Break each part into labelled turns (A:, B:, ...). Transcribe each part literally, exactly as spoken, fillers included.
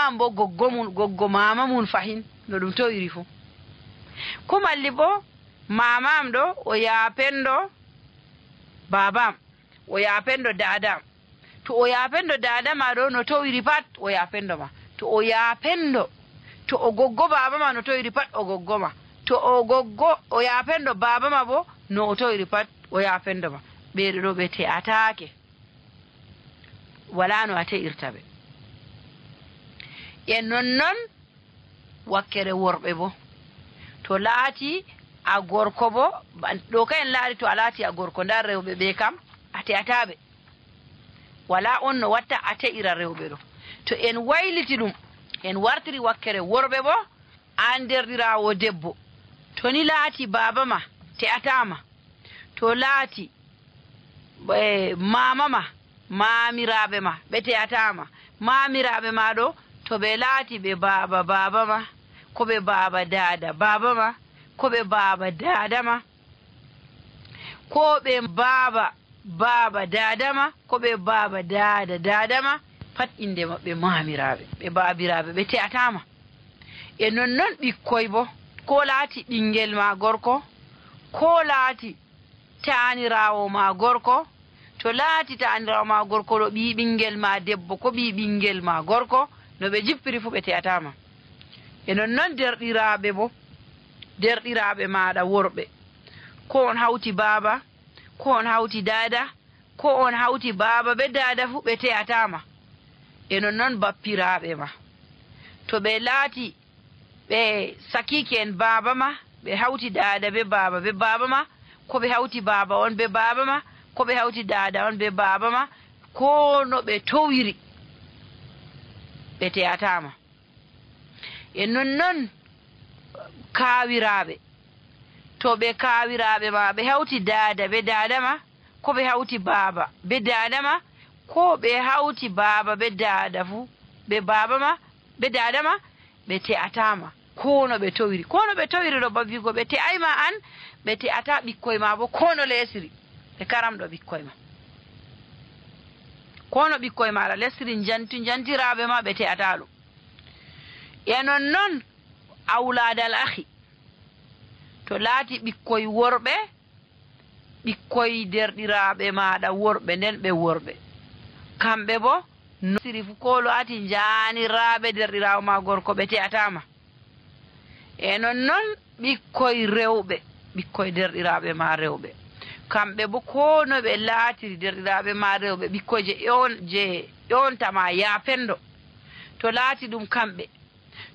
A: wawan bo goggo mun goggo mama mun fahin no ɗum towiri fu ko malli bo mamam ɗo o yapendo babam o yapendo dadam to o yapendo dadama ɗo no towiri pat o yapendo ma to o yapendo to o goggo babama no towiri pat o goggo ma to o goggo o yapendo babama bo no o towiri pat o yapendo ma ɓeɗo ɗo ɓe te'atake wala no a te'irta ɓe e nonnon wakkere worɓe bo to laati a gorko bo ɗo ka en laari to a laati a gorko nda rewɓe ɓe kam a te'ataɓe wala on no watta a te'ira rewɓe ɗo to en wayliti ɗum en wartiri wakkere worɓe bo an derɗirawo debbo to ni laati baba ma te'atama to laati e mama ma mamiraɓe ma ɓe te'atama mamiraɓe ma ɗo to ɓe laati ɓe baba baba ma ko ɓe baba dada baba ma ko ɓe baba dada ma ko ɓe baba baba dada ma ko ɓe baba dada dada ma pat inde maɓɓe mamiraɓe ɓe babiraɓe ɓe te'atama e nonnon ɓikkoy bo ko laati ɓingel ma gorko ko laati tanirawo ma gorko to laati tanirawo ma gorko ɗo ɓi ɓingel ma debbo ko ɓi ɓingel ma gorko no ɓe jippiri fu ɓe te'atama e nonnon derɗiraɓe bo derɗiraɓe maɗa worɓe ko on hawti baba ko on hawti dada ko on hawti baba ɓe dada fu ɓe te'atama e nonnon bappiraɓe ma to ɓe laati ɓe sakiki en baba ma ɓe hawti dada ɓe baba ɓe baba ma ko ɓe hawti baba on ɓe baba ma ko ɓe hawti dada on ɓe baba ma ko no ɓe towiri ɓe te'atama e nonnon kawiraɓe to ɓe kawiraɓe ma ɓe hawti dada ɓe dada ma ko ɓe hawti baba ɓe dada ma ko ɓe hawti baba ɓe dada fu ɓe baba ma ɓe dada ma ɓe te'atama kono ɓe towiri kono ɓe towiri ɗo babigo ɓe te'ayma an ɓe te'ata ɓikkoy ma bo kono lesiri ɓe karamɗo ɓikkoy ma kono ɓikkoy maɗa lesiri janti jantiraɓe ma ɓe te'ata ɗum e nonnon awladal ahi to laati ɓikkoy worɓe ɓikkoy derɗiraɓe maɗa worɓe nden ɓe worɓe kamɓe bo no siri fu ko laati janiraɓe derɗirawo ma gorko ɓe te'atama e nonnon ɓikkoy rewɓe ɓikkoy derɗiraɓe ma rewɓe kamɓe bo kono ɓe laatiri derɗiraɓe ma rewɓe ɓikkoy je ƴon je ƴontama yapendo to laati ɗum kamɓe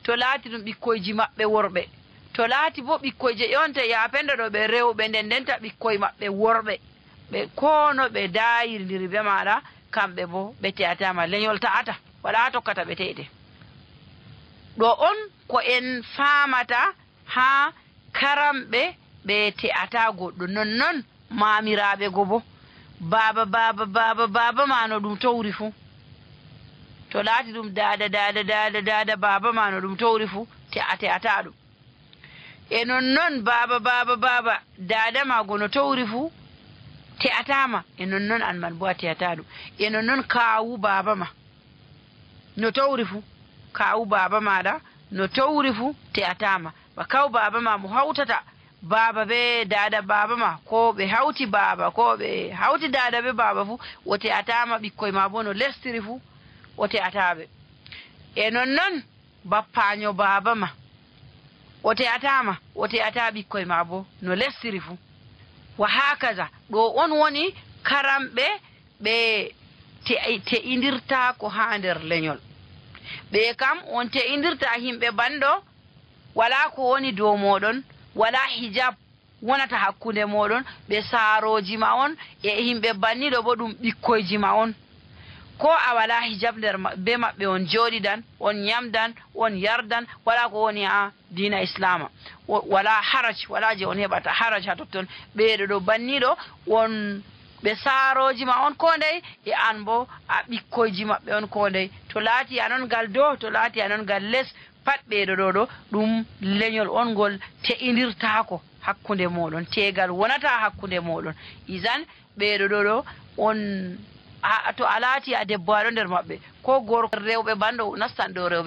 A: to laati ɗum ɓikkoyji maɓɓe worɓe to laati bo ɓikkoy je ƴonta yapendo ɗo ɓe rewɓe nden ndenta ɓikkoy maɓɓe worɓe ɓe kono ɓe dayirndiri be maɗa kamɓe bo ɓe te'atama leñol ta'ata wala tokkata ɓe te'ete ɗo on ko en famata ha karamɓe ɓe te'ata goɗɗo nonnon mamiraɓe go bo baba baba baba baba ma no ɗum towri fu to laati ɗum dada dada dada dada baba ma no ɗum towri fu te'a te'ata ɗum e nonnon baba baba baba dada ma go no towri fu te'atama e nonnon an man bo a te'ata ɗum e nonnon kawu baba ma no towri fu kawu baba maɗa no towri fu te'atama ba kaw baba ma mo hawtata baba be dada baba ma ko ɓe hawti baba ko ɓe hawti dada be baba fu o te'atama ɓikkoy ma bo no lestiri fu o te'ataɓe e nonnon bappaño baba ma o te'atama o te'ata ɓikkoy ma bo no lestiri fu wa hakaza ɗo on woni karamɓe ɓe te'indirta ko ha nder leñol ɓe kam on te'indirta himɓe banɗo wala ko woni dow moɗon wala hijab wonata hakkunde moɗon ɓe saaroji ma on e himɓe banniɗo bo ɗum ɓikkoyji ma on ko a wala hijab nder be maɓɓe on jooɗidan on ñamdan on yardan wala ko woni ha dina islama wala haraj wala je on heɓata haraj ha totton ɓeeɗo ɗo banniɗo on ɓe saaroji ma on ko ndey e an bo a ɓikkoyji maɓɓe on ko ndey to laati anon ngal dow to laati anon ngal less pat ɓeeɗo ɗo ɗo ɗum leñol on ngol te'indirtako hakkunde moɗon tegal wonata hakkunde moɗon isan ɓeeɗo ɗo ɗo on to a laati a debbo aɗo nder maɓɓe ko gorko rewɓe banɗo nastan ɗo rewɓe